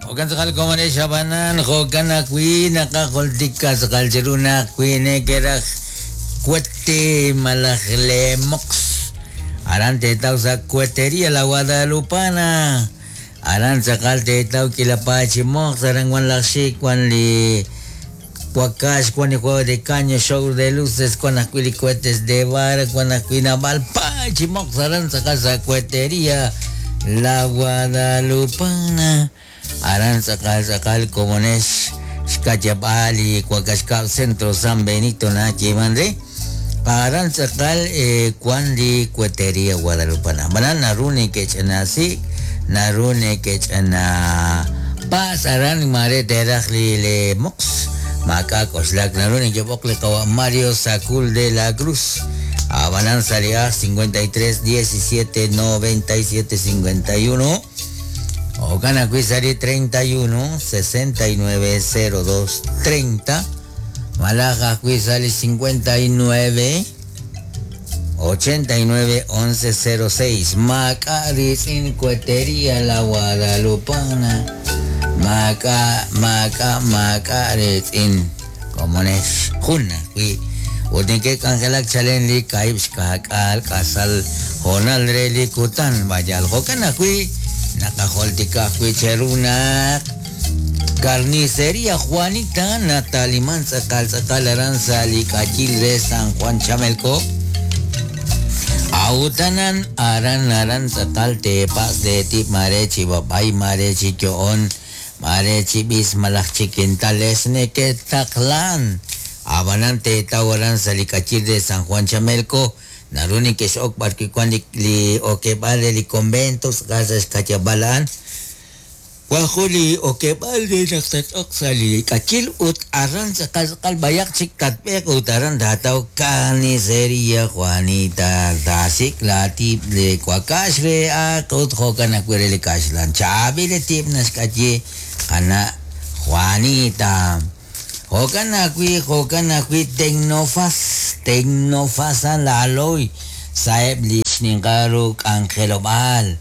Jo'kan tz'aqal komonex ab'anan jo'kan ajwi' naqajultika tz'aqal chiru naq wi nekeraj cohete malaj le moqs aran teetaw sa' Cohetería La Guadalupana aran tz'aqal teetaw k'iila paay chi moqs aran wan laj xik wan li wakax wan li juego de caño show de luces wan ajwi' li cohetes de vara wan ajwi' naab'al paay chi moqs aran tz'aqal sa' Cohetería La Guadalupana aran tz'aqal tz'aqal komonex xka'yab'al li Wak'axkab' Centro San Benito nayeeman re aran tz'aqal wan li Cohetería Guadalupana ab'anan naru neke'ch'anasik naru neke'ch'ana pa's aran mare teeraj li le moqs maak'a' k'oxlak naru nekeb'oq li qawa' Mario Sacul de la Cruz ab'anan sa' li aj 53 17 97 51 jo'kan ajwi' sa' li 31 69 02 30 malaj ajwi' sa' li 59 89 11 06 maak'a' riitz'in Cohetería La Guadalupana maak'a' maak'a' maak'a' riitz'in komonex jun ajwi' ut neke'k'anjelak chalen li kaahib' xka'k'aal k'asal hoonal re li kutan vayal jo'kan ajwi' naqajultika ajwi' cheru naq Carnicería Juanita nataliman tz'aqal tz'aqal aran sa' li k'ayil re San Juan Chamelco awutanan aran aran tz'aqal teepas teetib' mare chi b'ab'ay mare chi yo'on mare chi b'is malaj chi quintales neke'taqlan ab'anan teetaw aran sa' li k'ayil re San Juan Chamelco naru neke'x'ok b'arwi' wan li okeb'aal re li convento tz'aqal sa' xka'yab'al a'an wan jun li okeb'aal re naq tat'oq sa' li k'ayil ut aran tz'aqal tz'aqal b'ayaq chik tatb'eeq ut aran taataw Carnicería Juanita taasik' laatib' li wakax re aaq ut jo'kan ajwi' re li kaxlan chaab'il li tib' naxk'ayi qana' Juanita jo'kan ajwi' jo'kan ajwi' Tecnofas Tecnofas a'an laaloy sa'eb' li xninqal ru k'anjelob'aal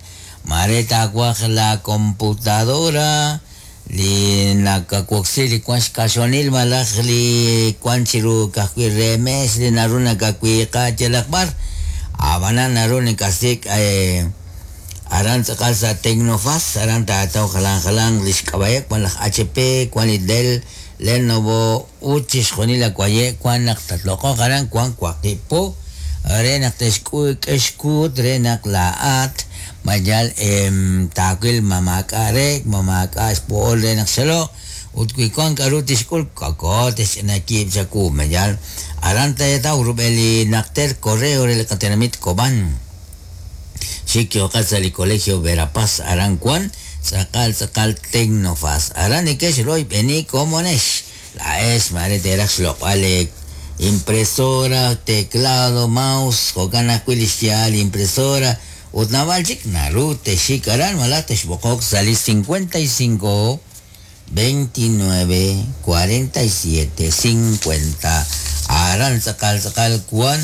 mare taawaj la computadora li nakawoksi li wan xkaxonil malaj li wan chiru ka'ajwi' re meex li naru nakawiiqa yalaq b'ar ab'anan naru nakasik' aran tz'aqal sa' Tecnofas aran taataw jalan jalan li xk'ab'a'eb' wan laj HP wan li Dell Lenovo ut chixjunil awaye' wan naq tatloq'oq aran wan waqib' po re naq texk'e xkuut re naq laa'at mayal taawil ma maak'a' rek ma maak'a' xpo'ol re naq xaloq ut wi wan k'aru tixk'ul koko texch'ina kiib' chawu mayal aran teetaw rub'el li naqter correo re li qatenamit Cobán xik yooqat sa' li Colegio Verapaz aran wan tz'aqal tz'aqal Tecnofas aran neke'xroyb'eni komonex laa'ex mare teeraj xloq'b'al impresora teclado mouse jo'kan ajwi' li xyaal impresora ut naab'al chik naru texik aran malaj texb'oqoq sa' li 55 29 47 50 aran tz'aqal tz'aqal wan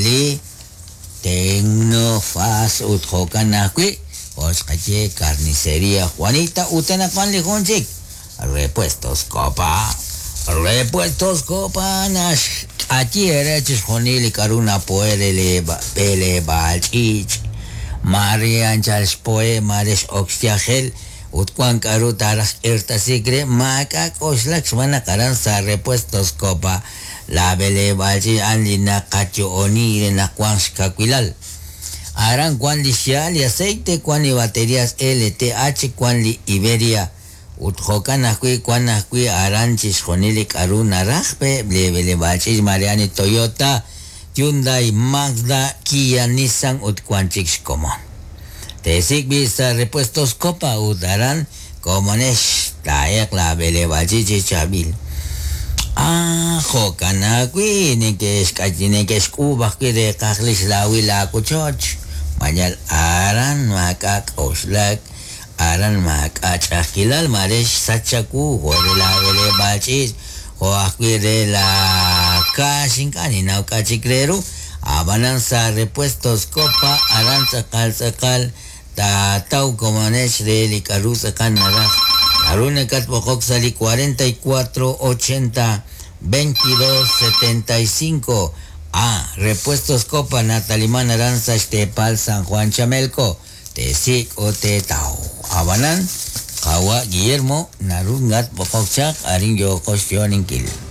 li Tecnofas ut jo'kan ajwi' jo' xqaye Carnicería Juanita ut anaqwan li jun chik Repuestos Copa Repuestos Copa naxk'ayi ere chixjunil li k'aru napo'e re li b'eleb'aal ch'iich' mare anchal xpo'e mare x'ok xyajel ut wan k'aru taaraj k'irtasik re maak'a' k'oxlak xb'aan naq aran sa' Repuestos Copa la b'eleb'aal ch'iich' a'an li naqayo'oni re naq wan xkawilal aran wan li xyaal li aceite wan li baterías LTH wan li Iberia ut jo'kan ajwi' wan ajwi' aran chixjunil li k'aru naraj pe li b'eleb'aal ch'iich' mare a'an li Toyota Hyundai Mazda Kia Nissan ut wan chik xkomon teesik' b'i' sa' Repuestos Copa ut aran komonex taa'eq la b'eleb'aal ch'iich' chi chaab'il jo'kan ajwi' neke'xk'ayi neke'xk'uub' ajwi' reeqaj li xlaawil laawochoch mayal aran maak'a' k'oxlak aran maak'a' ch'a'ajkilal mare xsach chawu jo' re la b'eleb'aal ch'iich' jo' ajwi' re la kaax ink'a' ninnaw k'a' chik re ru ab'anan sa' Repuestos Copa aran tz'aqal tz'aqal taataw komonex re li k'aru tz'aqal naraj Naru nakatb'oqok sa' li 44 80 22 75. A. Repuestos Copa nataliman aran sa' xteepal San Juan Chamelco. Teesik' ut teetaw. Ab'anan, qawa' Guillermo, naru ngatb'oqok chaq arin yooqo xyo'oninkil.